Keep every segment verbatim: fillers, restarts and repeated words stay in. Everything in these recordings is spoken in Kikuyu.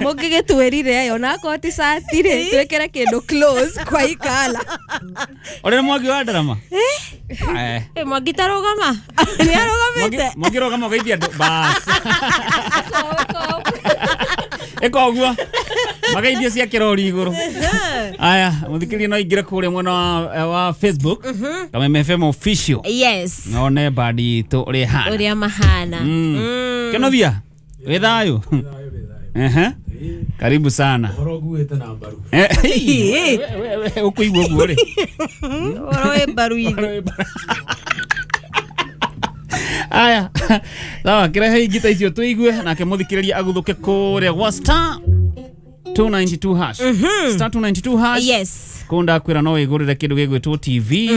Mũngĩgĩtwĩrire ona akorwo ti cati rĩ twĩkĩre kĩndũ close kwa ikala. Ũrĩa Mwangi wa ndarama. Eh. Eh, Mwangi tarũgama. Nĩ arũgamĩte. Mwangi rũgama ũgeithia andũ. Bas. Ĩka ũguo. Mageithio cia kĩrori igũrũ. Aya, mũthikĩrĩria no ingĩre kũrĩa mwena wa, wa Facebook. Kameme F M official. Yes. None badi itũ ũrĩa ĩhana. Ũrĩa mahana. Mm. Kenothia, wĩ thayũ? Ehe. Karibu sana. Ũhoro nguĩte na mbaru. Ũkũigua ũguo rĩ? Ũhoro wĩ mbaru-inĩ. Aya. Sawa, kĩrehe ingĩ ta icio tũigue nake mũthikĩrĩria agũthũke kũrĩa gwa star two ninety-two hash. Star two ninety-two hash. Yes. Kũu ndakwĩra no wĩgũrĩre kĩndũ gĩgwĩtwo T V,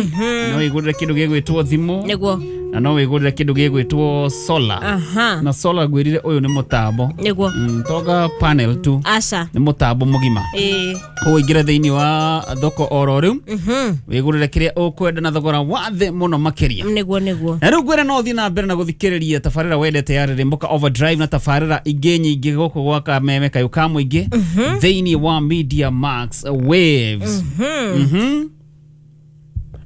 no wĩgũrĩre kĩndũ gĩgwĩtwo thimũ. Nĩguo. Na no wĩgũrĩre kĩndũ gĩgwĩtwo solar. Aha. Na solar ngwĩrire ũyũ nĩ mũtambo. Nĩguo. Mm, toga panel tu. Aca. Nĩ mũtambo mũgima. Ĩĩ. Koguo ingĩra thĩinĩ wa thoko oro rĩu. Mhm. Wĩgũrĩre kĩrĩa ũkwenda na thogora wa thĩ mũno makĩria. Nĩguo nĩguo. Na rĩu ngwĩre no ũthiĩ na mbere na gũthikĩrĩria tabarĩra wendete ya Rĩrĩmbũka Overdrive na tabarĩra ingĩ nyingĩ gũkũ gwa Kameme kayũ ka mũingĩ thĩinĩ wa Media Max Waves. Mhm.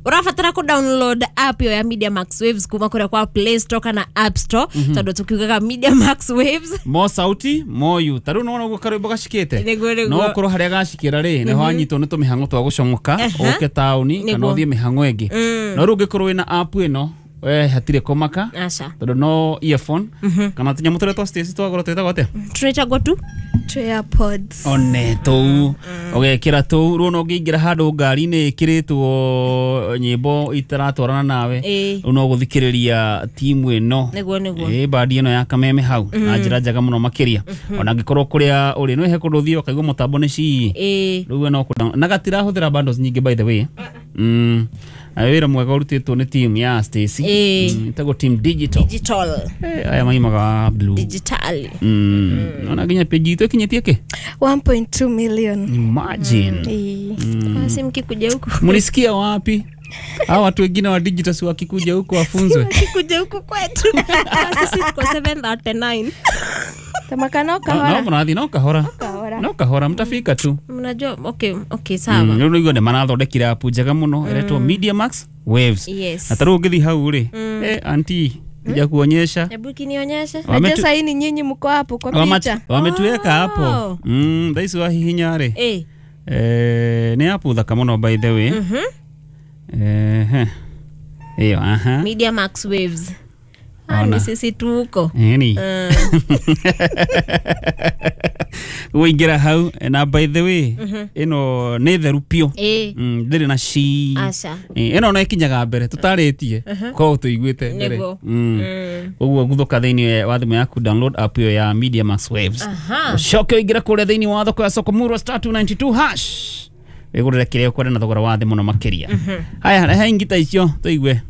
Ũrabatara ku download app yo ya Media Max Waves kuma kũrĩa kwa Play Store kana App Store tondũ tukiugaga Media Max Waves mo sauti mo yu ta rĩu nĩwona ũguo karwĩmbo gacikĩte Nĩguo, nĩguo. no ũkorwo harĩa gacikĩra rĩ nĩho anyitwo nĩ tũmĩhang'o twa gũcomoka ũke taũni kana Nĩguo. ũthiĩ mĩhang'o ĩngĩ no rĩu ũngĩkorwo wĩna app ĩno we hatirĩ kũmaka aca tondũ no earphone kana tũnyamũ tũrĩa twa Stacy twagũra twĩtagwo atĩa tũrĩtagwo tu AirPods. one tũu ũgekĩra tũu rĩu no ũngĩingĩra handũ ngari-inĩ ĩkĩrĩtwo nyĩmbo itaratwarana nawe Ĩĩ. rĩu no gũthikĩrĩria timu ĩno Nĩguo, nĩguo. ĩĩ bandi ĩno ya Kameme hau na njĩra njega mũno makĩria ona angĩkorwo kũrĩa ũrĩ no he kũndũ ũthiĩ ũkaigua mũtambo nĩ cii Ĩĩ. rĩu we no kũ na gatirahũthĩra bundles nyingĩ by the way mm na wĩra mwega ũrutĩtwo nĩ team ya Stacy Ĩĩ. Mm, ĩtagwo team digital Digital. Eh, aya maimaga blue Digital. Mm. Ona nginya page itũ ĩkinyĩtie kĩ one point two million. Imagine. Ĩĩ. Basi mkikuja huku. Mlisikia wapi? Hawa watu wengine wa digital si wakikuja huku wafunzwe. Wakikuja huku kwetu. Sisi tuko seven thirty-nine. Tamaka no No, kahora. mnathi no kahora. Kahora. No kahora mtafika tu. Mnajua okay, okay sawa. Mm, rĩu nĩguo nĩ marathondekire app njega mũno ĩretwo Media Max Waves. Yes. Na ta rĩu ũngĩthiĩ hau rĩ, eh auntie, kuja kuonyesha. Hebu kinionyeshe. Wametu- Najua sahii ni nyinyi mko hapo kwa Wama- picha. Wametuweka hapo. Oh. Mm, thaa ici wahihinya rĩ. Eh. Eh, nĩ app thaka mũno by the way. Mhm. Eh. Ĩyo, aha. Media Max Waves. Ah, Ona. ni sisi tuko. Ĩni. Mm. Ũingĩra hau na by the way ĩno nĩ theru piũ. Eh. Mm, ndĩrĩ na ci. Aca. Eh, ĩno no ĩkinyaga mbere tũtarĩtie korwo tũiguĩte mbere. Nĩguo. Mm. Mm. Ũguo guthũka thĩinĩ wa thimũ yaku download app ĩyo ya Media Max Waves. Aha. Ũcoke ũingĩre kũrĩa thĩinĩ wa thoko ya Soko Murwa star two ninety-two hash. Wĩgũrĩre kĩrĩa ũkwenda na thogora wa thĩ mũno makĩria. Haya, rehe ingĩ ta icio tũigue.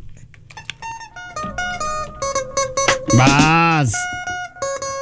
Bas.